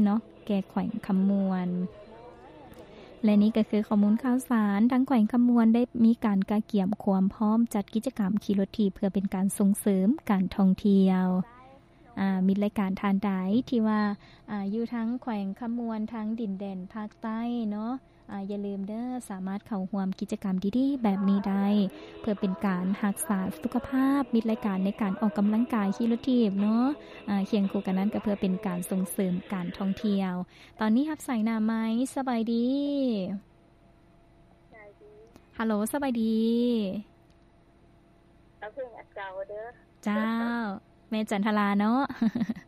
ເນາະ ແກ່ແຂວງຄຳມ່ວນ. ແລະນີ້ກໍຄືຂໍ້ມູນຂ່າວສານ ທາງແຂວງຄຳມ່ວນໄດ້ມີການກະກຽມຄວາມພ້ອມຈັດກິດຈະກຳຂີ່ລົດຖີບ ເພື່ອເປັນການສົ່ງເສີມການທ່ອງທ່ຽວ. ອາ ມິດລາຍການທ່ານໃດທີ່ວ່າ ອາ ຢູ່ທາງແຂວງຄຳມ່ວນ ທາງດິນແດນພາກໃຕ້ເນາະ ອາ ຢ່າລືມເດີ ສາມາດເຂົ້າຮ່ວມກິດຈະກຳດີໆແບບນີ້ໄດ້ ເພື່ອເປັນການຮັກສາສຸຂະພາບ. ມິດລາຍການໃນການອອກກຳລັງກາຍຂີ່ລົດຖີບເນາະ ອາ ຄຽງຄູ່ກັນນັ້ນກໍເພື່ອເປັນການສົ່ງເສີມການທ່ອງທ່ຽວ. ຕອນນີ້ຮັບສາຍໜ້າໄມ. ສະບາຍດີ. ສະບາຍດີ. ຮັລໂຫຼ ສະບາຍດີ. ເອົາເພງອັນເກົ່າເດີ. ເຈົ້າ ແມ່ຈັນທະລາເນາະ.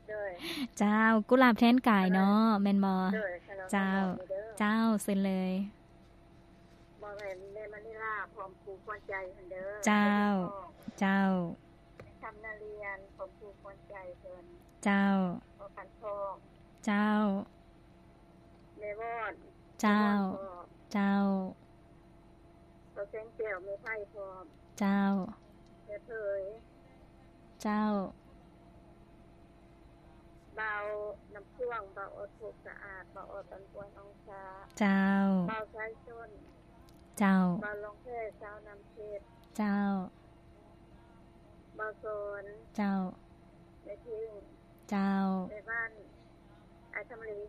ໂດຍ. ເຈົ້າ ກຸຫຼາບແທນກາຍເນາະ ແມ່ນບໍ່? ໂດຍ. ເຈົ້າ ເຈົ້າ ເຊີນເລີຍ. ມອບໃຫ້ແມ່ມະນີລາ ພ້ອມຄູ່ຂວັນໃຈຫັ້ນເດີ. ເຈົ້າ ເຈົ້າ. ຄຳນາລຽນ ພ້ອມຄູ່ຂວັນໃຈເພິ່ນ. ເຈົ້າ. ພໍ່ຂັນທອງ. ເຈົ້າ. ແມ່ວອນ. ເຈົ້າ ແມ່ວອນພ້ອມ. ເຈົ້າ. ພໍ່ແສງແກ້ວ ແມ່ໄພພ້ອມ. ເຈົ້າ. ແມ່ເຜີຍ. ເຈົ້າ. ບ່າວນ້ຳພວງ ບ່າວອອດ ພົກສະອາດ ບ່າວອອດ ອັນປວນອອງຊາ. ເຈົ້າ. ບ່າວສາຍຊົນ. ເຈົ້າ. ບ່າວຫຼອງແພ ສາວນ້ຳເພັດ. ເຈົ້າ. ບ່າວສອນ. ເຈົ້າ. ແມ່ເພງ. ເຈົ້າ. ແມ່ບ້ານ ອ້າຍຄຳເລັກ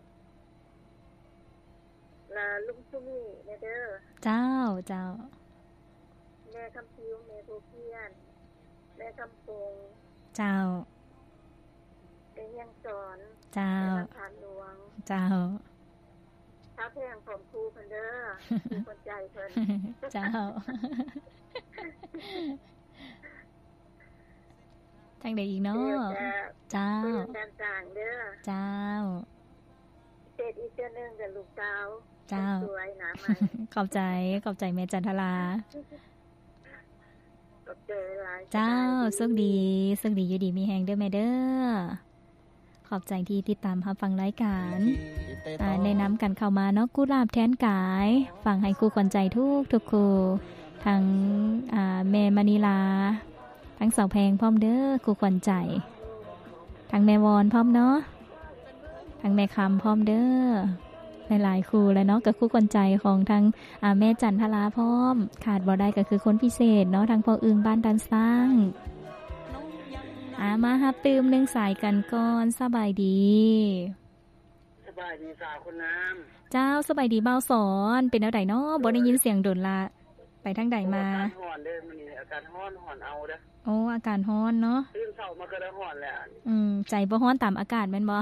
ລະລຸງສຸມີແດ່ເດີ. ເຈົ້າ ເຈົ້າ. ແມ່ຄຳຜິວ ແມ່ບົວພຽນ ແມ່ຄຳປົງ. ເຈົ້າ. ແມ່ຮຽງສອນ. ເຈົ້າ. ແມ່ບ້ານທາດຫຼວງ. ເຈົ້າ. ສາວແພງພ້ອມຄູ່ເພິ່ນເດີ ຄູ່ຂວັນໃຈເພິ່ນ. ເຈົ້າ. ທາງໃດອີກເນາະ? ເຈົ້າ. ເຈົ້າ. ເສດອີກເທື່ອໜຶ່ງກັບລູກສາວ. ເຈົ້າ. ສວຍໜ້າໃໝ່. ຂອບໃຈ ຂອບໃຈແມ່ຈັນທະລາ. ຂອບໃຈຫຼາຍ. ເຈົ້າ. ໂຊກດີ ໂຊກດີ ຢູ່ດີມີແຮງເດີແມ່ເດີ. ຂອບໃຈທີ່ຕິດຕາມຮັບຟັງລາຍການ ແນະນຳກັນເຂົ້າມາເນາະ ກຸຫຼາບແທນກາຍ ຟັງໃຫ້ຄູ່ຂວັນໃຈທຸກໆຄູ່ ທັງ ອາ ແມ່ມະນີລາ ທັງສາວແພງພ້ອມເດີ ຄູ່ຂວັນໃຈ ທັງແມ່ວອນພ້ອມເນາະ ທັງແມ່ຄຳພ້ອມເດີ. ຫຼາຍໆຄູ່ແຫຼະເນາະ ກໍຄູ່ຂວັນໃຈຂອງທັງ ອາ ແມ່ຈັນທະລາພ້ອມ ຂາດບໍ່ໄດ້ກໍຄືຄົນພິເສດເນາະ ທັງພໍ່ອຶ່ງບ້ານດານຊ້າງ. ອາ ມາຮັບຕື່ມໜຶ່ງສາຍກັນກ່ອນ. ສະບາຍດີ. ສະບາຍດີສາວຄົນງາມ. ເຈົ້າ ສະບາຍດີບ່າວສອນ. ເປັນແນວໃດເນາະ? ບໍ່ໄດ້ຍິນສຽງດົນລະ. ໄປທາງໃດມາ? ໂອ້ ອາກາດຮ້ອນເດີ ມື້ນີ້ອາກາດຮ້ອນ ຮ້ອນເອົາເດີ. ໂອ້ ອາກາດຮ້ອນເນາະ. ຕື່ນເຊົ້າມາກໍໄດ້ຮ້ອນແລ້ວ. ອືມ ໃຈບໍ່ຮ້ອນຕາມອາກາດແມ່ນບໍ່?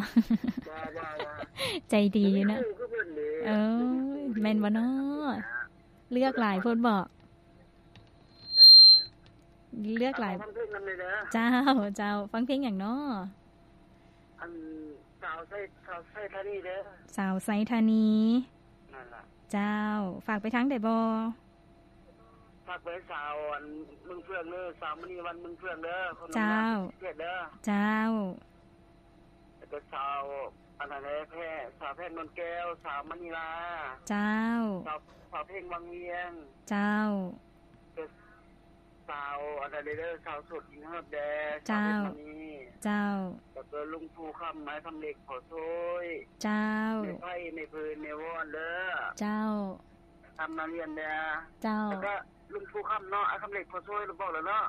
ບໍ່ ບໍ່ ບໍ່. ໃຈດີຢູ່ເນາະ. ເອີ ແມ່ນບໍ່ເນາະ? ເລືອກຫຼາຍໂພດບໍ? ເລືອກຫຼາຍ. ເອົາ ຟັງເພງນຳແດ່ເດີ. ເຈົ້າ ເຈົ້າ. ຟັງເພງຫຍັງເນາະ? ອັນ ສາວໄຊ ສາວໄຊທານີເດີ. ສາວໄຊທານີ. ນັ້ນລະ. ເຈົ້າ. ຝາກໄປທາງໃດບໍ່? ຝາກໄປສາວອັນເມືອງເຟືອງເດີ ສາວມະນີວັນເມືອງເຟືອງເດີ. ເຈົ້າ. ເຈົ້າ. ແລ້ວກໍສາວອັນນັ້ນແຫຼະ ແພ ສາວແພງນວນແກ້ວ ສາວມະນີລາ. ເຈົ້າ. ສາວ ສາວເພງວັງວຽງ. ເຈົ້າ. ສາວອັນນັ້ນເດີ ສາວໂສດກິນຮອດແດ່. ເຈົ້າ. ສາວເພງມະນີ. ເຈົ້າ. ແລ້ວກໍລຸງພູຄຳ ອ້າຍຄຳເລັກ ພໍ່ໂຊຍ. ເຈົ້າ. ແມ່ໄພ ແມ່ເພີນ ແມ່ວອນເດີ. ເຈົ້າ. ຄຳນາລຽນເດີ. ເຈົ້າ. ແລ້ວກໍລຸງພູຄຳເນາະ ອ້າຍຄຳເລັກ ພໍ່ໂຊຍ ລະບອກແລ້ວເນາະ.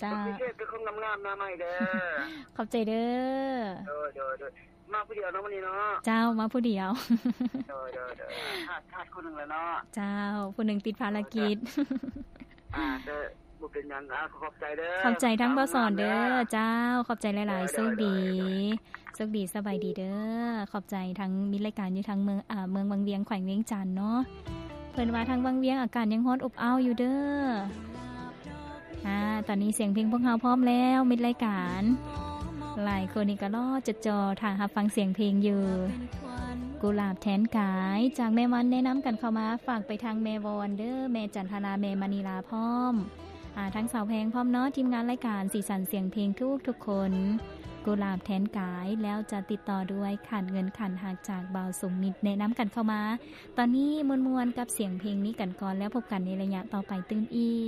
ເຈົ້າ. ພິເສດຄືຄົນງາມໆໜ້າໃໝ່ເດີ. ຂອບໃຈເດີ. ໂດຍ ໂດຍ ໂດຍ. ມາຜູ້ດຽວເນາະມື້ນີ້ເນາະ. ເຈົ້າ ມາຜູ້ດຽວ. ໂດຍ ໂດຍ ໂດຍ. ຂາດ ຂາດຜູ້ໜຶ່ງແລ້ວເນາະ. ເຈົ້າ ຜູ້ໜຶ່ງຕິດພາລະກິດ. ໂດຍ ໂດຍ. ອ່າ ກໍບໍ່ເປັນຫຍັງ. ອ່າ ຂອບໃຈເດີ. ຂອບໃຈທັງບ່າວສອນເດີ. ເຈົ້າ ຂອບໃຈຫຼາຍໆ. ໂດຍ ໂດຍ ໂຊກດີ ໂດຍ ໂດຍ. ໂຊກດີ ສະບາຍດີເດີ. ຂອບໃຈທັງມິດລາຍການຢູ່ທາງເມືອງ ອາ ເມືອງວັງວຽງ ແຂວງວຽງຈັນເນາະ. ເພິ່ນວ່າທາງວັງວຽງອາກາດຍັງຮ້ອນອົບອ້າວຢູ່ເດີ. ອາ ຕອນນີ້ສຽງເພງພວກເຮົາພ້ອມແລ້ວ ມິດລາຍການ. ຫຼາຍຄົນນີ້ກໍລໍຈົດຈໍ່ຖ້າຮັບຟັງສຽງເພງຢູ່. ກຸຫຼາບແທນກາຍ ຈາກແມ່ວັນແນະນຳກັນເຂົ້າມາ ຝາກໄປທາງແມ່ວອນເດີ ແມ່ຈັນທະລາ ແມ່ມະນີລາພ້ອມ ອາ ທັງສາວແພງພ້ອມເນາະ. ທີມງານລາຍການສີສັນສຽງເພງທຸກໆຄົນ ກຸຫຼາບແທນກາຍ ແລ້ວຈະຕິດຕໍ່ດ້ວຍຂາດເງິນຂາດຮັກ ຈາກບ່າວສົມມິດ ແນະນຳກັນເຂົ້າມາ. ຕອນນີ້ມ່ວນໆກັບສຽງເພງນີ້ກັນກ່ອນ ແລ້ວພົບກັນໃນໄລຍະຕໍ່ໄປຕື່ມອີກ.